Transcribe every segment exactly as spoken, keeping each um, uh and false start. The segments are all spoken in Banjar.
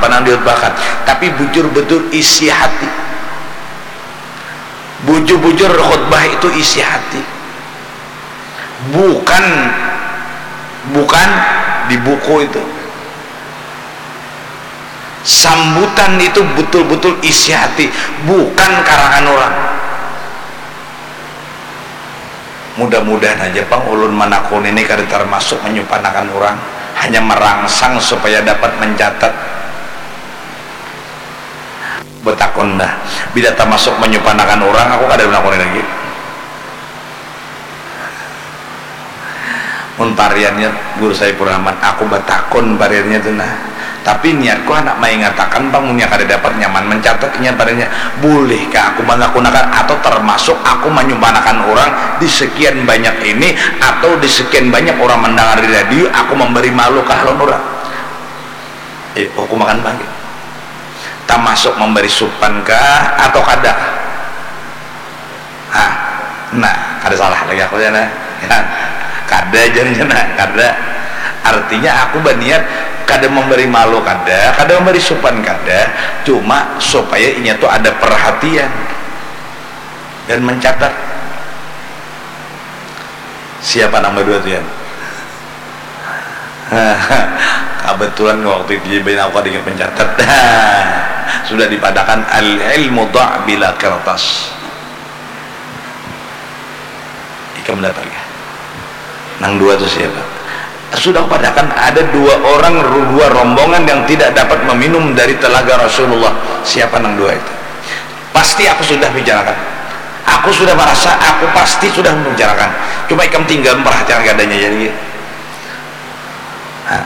nang dikhutbahkan, tapi bujur-bujur isi hati. Bujur-bujur khutbah itu isi hati, bukan, bukan di buku itu. Sambutan itu betul-betul isi hati, bukan karangan orang. Mudah-mudahan aja pang ulun manakuni ni kada termasuk menyupanakan orang, hanya merangsang supaya dapat mencatat. Betakun dah, bila termasuk menyupanakan orang, aku kada menakuni lagi. Mun pariannya Guru Saifur Rahman, aku batakun pariannya tu nah. Tapi niatku handak maingatakan pang, munnya kada dapat nyaman mencatat inya pariannya. Bulihkah aku manakunakan atau termasuk aku manyumpanakan urang di sekian banyak ini atau di sekian banyak urang mandangar di radio, aku mambari malu kah lawan urang? Eh, hukumakan pang gitu. Tamasuk mambari supan kah atau kada kah? Hah, nah, kada salah lagi aku jar nah. Ya, kada jar nya nah, kada. Artinya aku baniat kada mambari malu kada, kada mambari supan kada, cuma supaya inya tu ada perhatian dan mencatat. Siapa nang badua tu, Yan? Kebetulan waktu itu jadi aku kada ingat mencatat. Sudah dipadakan al-ilmu da' bila kertas. Ikam dapat kah? Nang dua tu siapa? Sudah padakan ada dua orang, ru-, dua rombongan yang tidak dapat meminum dari telaga Rasulullah. Siapa nang dua itu? Pasti aku sudah bicarakan. Aku sudah merasa, aku pasti sudah membicarakan. Cuma ikam tinggal memperhatikan keadaannya jadi. Nah,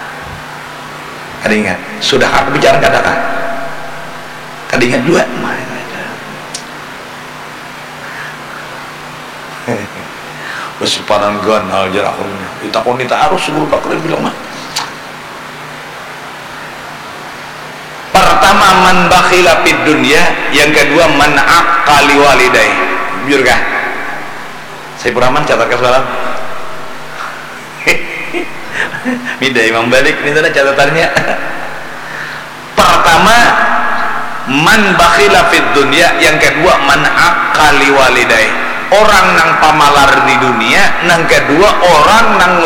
kada ingat. Sudah aku bicarakan, kada kah? Kada ingat juga. Basipanan ganal jar aku. Ditakuni tarus Guru Bakri bilang mah. Pertama, man bakhila fid dunya, yang kedua, man aqqa liwalidayh. Bujur kah? Saifur Rahman, catat kah semalam? Mida Imam Balik, ini tadi catatannya. Pertama, man bakhila fid dunya, yang kedua, man aqqa liwalidayh. Orang nang pamalar di dunia, nang kedua, orang nang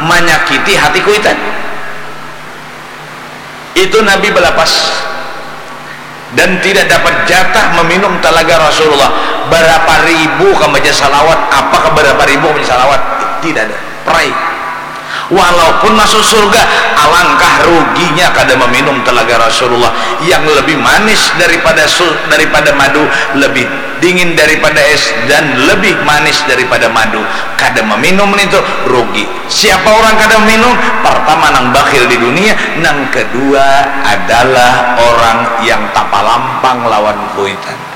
manyakiti hati kuitan. Itu Nabi balapas dan tidak dapat jatah meminum talaga Rasulullah. Barapa ribu kam baca salawat, apakah barapa ribu kam baca salawat? Tidak ada. Perai. Walaupun masuk surga, alangkah ruginya kada meminum talaga Rasulullah yang lebih manis daripada su-, daripada madu, lebih dingin daripada es, dan lebih manis daripada madu. Kada meminum itu rugi. Siapa orang kada minum? Pertama, nang bakhil di dunia, nang kedua adalah orang yang tapalampang lawan kuitan.